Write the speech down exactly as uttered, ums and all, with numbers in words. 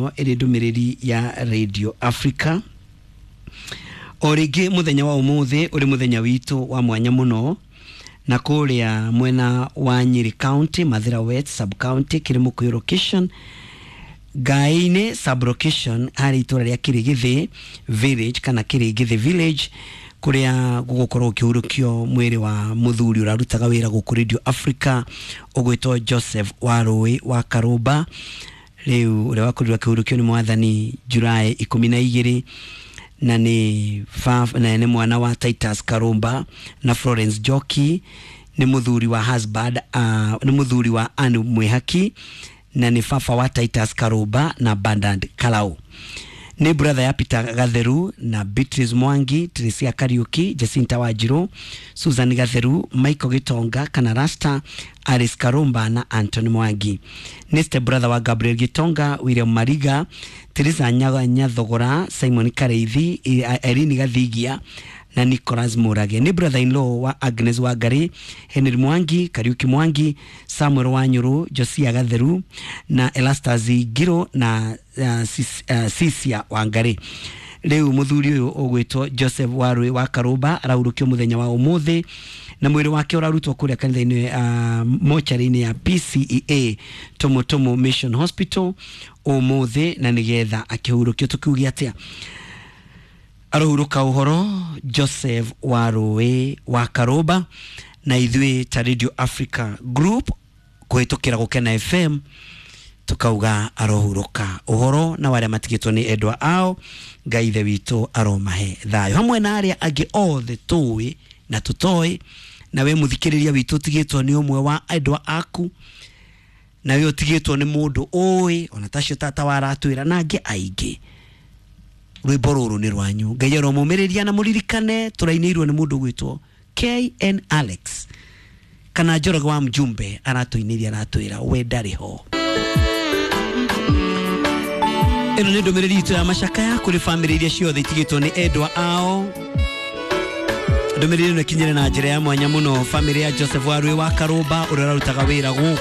ĩno ĩrĩ ndũmĩrĩri ya Radio Africa. O rĩngĩ mũthenya wa ũmũthĩ ũrĩ mũthenya witũ wa mwanya mũno, na kũrĩa mwena wa Nyeri County, Mathira West sub county, Kĩrĩmũkũyũ location, Ngai-inĩ sub location, harĩ itũra rĩa Kĩrĩgĩthĩ village kana Kĩrĩgĩthĩ village, kũrĩa gũgũkorwo ũkĩhurũkio mwĩrĩ wa mũthuri ũrarutaga wĩra gũkũ Radio Africa ũgwĩtwo Joseph Warũĩ wa Karũmba, rĩu ũrĩa wakorirwo akĩhurũkio nĩ mwathani Julaĩ ikũmi na igĩrĩ, na nĩ na nĩ mwana wa Titus Karũmba na Florence Njoki, nĩ mũthuri wa husband, uh, nĩ mũthuri wa Anne Mwĩhaki, na nĩ baba wa Titus Karũmba na Bernard Karau, nĩ brother ya Peter Gatheru na Beatrice Mwangi, Tricia Kariuki, Jacinta Wanjiru, Susan Gatheru, Michael Gitonga kana Rasta, Alice Karumba na Anthony Mwangi. Nĩ step brother wa Gabriel Gitonga, William Mariga, Teresa Nyathogora, Simon Kareithi, Irene Gathigia na Nicholas Murage. Nĩ brother in law wa Agnes Wangari, Henry Mwangi, Kariuki Mwangi, Samuel Wanyuru, Josia Gatheru na Elastas Ngiro na uh, Sis, uh, Sisia Wangari. Rĩu mũthuri ũyũ ũgwĩtwo Joseph Warũĩ wa Karũmba arahurũkio mũthenya wa ũmũthĩ, na mwĩrĩ wake ũrarutwo kũrĩa kanitha-inĩ, uh, mocarĩ-inĩ ya P C E A Tumutumu Mission Hospital ũmũthĩ, na nĩgetha akĩhurũkio. Tũkiuge atĩa? Arohurũka ũhoro Joseph Warũĩ wa Karũmba, na ithuĩ ta Radio Africa Group kũhĩtũkĩra Gũkena F M tukauga arohurũka ũhoro, na arĩa matigĩtwo nĩ endwa ao, Ngai Ithe witũ aromahe thayũ, hamwe na arĩa angĩ othe tũĩ na tũtoĩ. Na we mũthikĩrĩria witũ ũtigĩtwo nĩ ũmwe wa endwa aku, na we ũtigĩtwo nĩ mũndũ ũĩ ona tacio tata waratwĩra na angĩ aingĩ, rwĩmbo rũrũ nĩ rwanyu. Ngai aromũmĩrĩria na mũririkane tũrainĩirwo nĩ mũndũ ũgwĩtwo K N Alex kana Njoroge wa Mjumbe, aratũinĩria aratwĩra we ndarĩ ho. Ĩno nĩ ndũmĩrĩri itũ ya macakaya kũrĩ bamĩrĩ iria ciothe itigĩtwo nĩ endwa ao. Ndũmĩrĩri ĩno ĩkinyĩre na njĩra ya mwanya mũno bamĩrĩ ya Joseph Warũĩ wa Karũmba ũrĩa ũrarutaga wĩra gũkũ